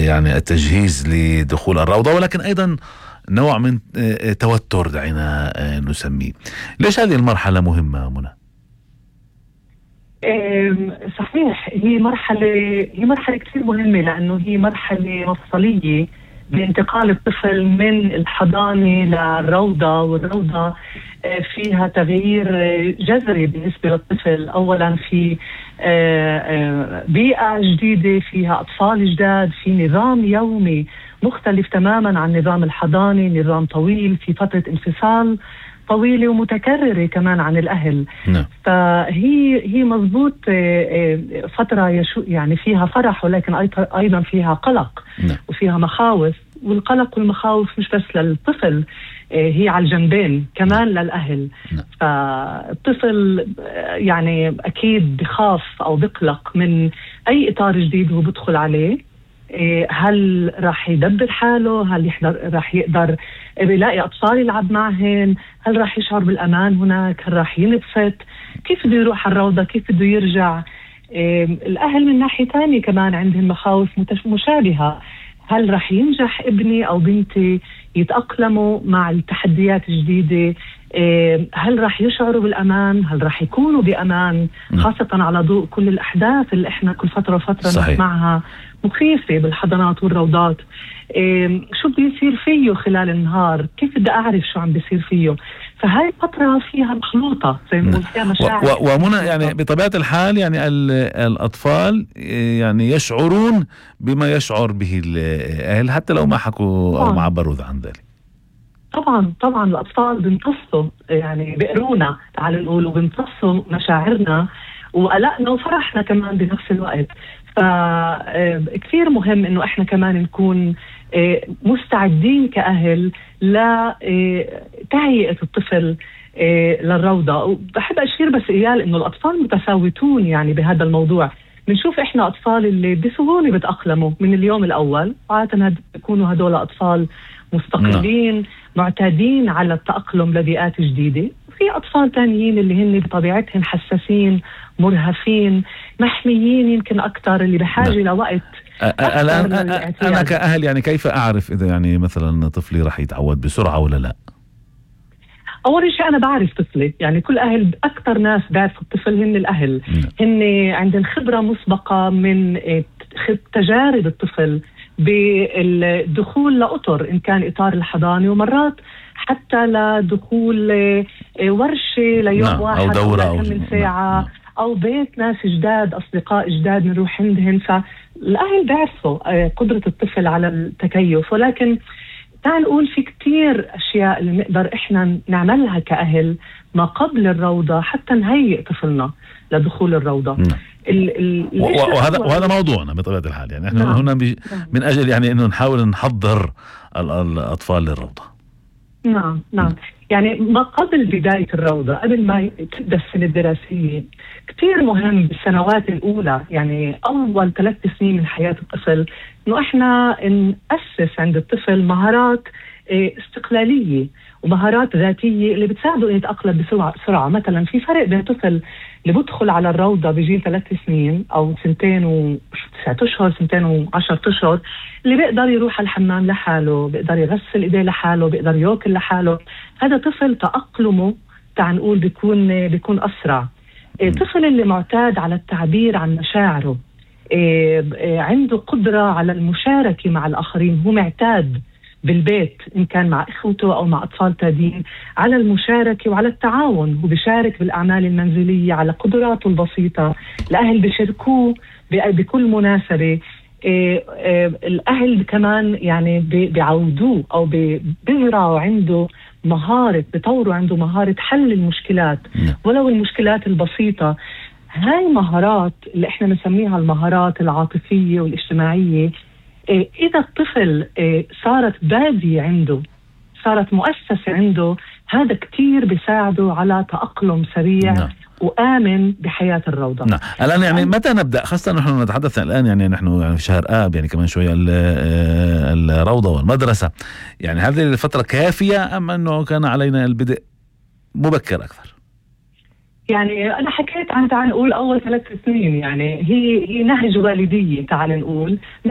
يعني التجهيز لدخول الروضة، ولكن أيضا نوع من توتر دعينا نسميه. ليش هذه المرحلة مهمة منى؟ صحيح، هي مرحلة كثير مهمة، لأنه هي مرحلة مفصلية بانتقال الطفل من الحضانة للروضة، والروضة فيها تغيير جذري بالنسبة للطفل. أولا في بيئة جديدة، فيها أطفال جداد، في نظام يومي مختلف تماما عن نظام الحضانة، نظام طويل، في فترة انفصال طويلة ومتكررة كمان عن الأهل. فهي مضبوط فترة يعني فيها فرح، ولكن أيضا فيها قلق وفيها مخاوف، والقلق والمخاوف مش بس للطفل، هي على الجنبين كمان للأهل. فالطفل يعني أكيد بخاف أو بقلق من أي إطار جديد هو بدخل عليه. هل راح يدبر حاله؟ هل راح يقدر يلاقي أطفال يلعب معهن؟ هل راح يشعر بالأمان هناك؟ هل راح ينبسط؟ كيف بده يروح على الروضة؟ كيف بده يرجع؟ الأهل من ناحية تانية كمان عندهم مخاوف مشابهة. هل راح ينجح ابني أو بنتي يتأقلموا مع التحديات الجديدة؟ هل راح يشعروا بالأمان؟ هل راح يكونوا بأمان؟ خاصة على ضوء كل الأحداث اللي إحنا كل فترة وفترة نسمعها مخيفة بالحضانات والروضات. شو بده يصير فيه خلال النهار؟ كيف بدي أعرف شو عم بيصير فيه؟ فهاي الفترة فيها مخلوطة زي ما قلت، فيها مشاعر ومنى يعني بطبيعة الحال يعني الأطفال يعني يشعرون بما يشعر به الأهل حتى لو ما حكوا أو ما عبروا عن ذلك. طبعا الأطفال بيمتصوا، يعني بيقرونا، تعالوا نقول، وبيمتصوا مشاعرنا وقلقنا وفرحنا كمان بنفس الوقت. فكثير مهم إنه إحنا كمان نكون مستعدين كأهل لتهيئة الطفل للروضة. وبحب أشير بس إيال إنه الأطفال متفاوتون يعني بهذا الموضوع. بنشوف إحنا أطفال اللي بسهولة بتأقلموا من اليوم الأول، عادة بيكونوا هدول أطفال مستقلين معتادين على التأقلم لبيئات جديدة. في أطفال تانيين اللي هن بطبيعتهم حساسين، مرهفين، محميين يمكن أكتر، اللي بحاجة لوقت. الآن أنا كأهل يعني كيف أعرف إذا يعني مثلا طفلي رح يتعود بسرعة ولا لا؟ أول شيء أنا بعرف طفلي، يعني كل أهل، أكتر ناس بعرف الطفل هن الأهل. هن عندهم خبرة مسبقة من تجارب الطفل بالدخول لأطر، إن كان إطار الحضانة، ومرات حتى لدخول ورشة ليوم واحد أو دورة أو من ساعة أو بيت ناس جداد، أصدقاء جداد نروح عندهم. فالأهل بيعرفوا قدرة الطفل على التكيف، ولكن تعال نقول في كتير أشياء اللي نقدر إحنا نعملها كأهل ما قبل الروضة حتى نهيئ طفلنا لدخول الروضة. وهذا موضوعنا بطبيعة الحال، يعني احنا هنا من أجل يعني إنه نحاول نحضر الأطفال للروضة. نعم يعني ما قبل بداية الروضة، قبل ما تبدأ السنة الدراسية، كتير مهم بالسنوات الأولى، يعني أول 3 سنين من حياة الطفل، إنه إحنا نأسس عند الطفل مهارات استقلالية ومهارات ذاتية اللي بتساعده إنه يتأقلم بسرعة. مثلا في فرق بين طفل اللي بدخل على الروضة بجيل 3 سنين أو 2 و9 أشهر، 2 و10 أشهر، اللي بيقدر يروح على الحمام لحاله، بيقدر يغسل إيديه لحاله، بيقدر يأكل لحاله. هذا طفل تأقلمه تعال نقول بيكون أسرع. طفل اللي معتاد على التعبير عن مشاعره، عنده قدرة على المشاركة مع الآخرين، هو معتاد بالبيت إن كان مع إخوته أو مع أطفال تانيين على المشاركة وعلى التعاون، هو بيشارك بالأعمال المنزلية على قدراته البسيطة. الأهل بيشاركوه بكل مناسبة. الأهل كمان يعني بيعودوه أو بيزرعوا عنده مهارة، بيطوروا عنده مهارة حل المشكلات ولو المشكلات البسيطة. هاي مهارات اللي احنا بنسميها المهارات العاطفية والاجتماعية. إذا الطفل صارت بادية عنده، صارت مؤسسة عنده، هذا كتير بيساعده على تأقلم سريع وآمن بحياة الروضة. نعم. الآن يعني متى نبدأ، خاصة نحن نتحدث الآن يعني نحن يعني في شهر آب، يعني كمان شوية الروضة والمدرسة، يعني هذه الفترة كافية أم أنه كان علينا البدء مبكر أكثر؟ يعني أنا حكيت عن تعال نقول أول 3 سنين، يعني هي نهج والدية تعال نقول.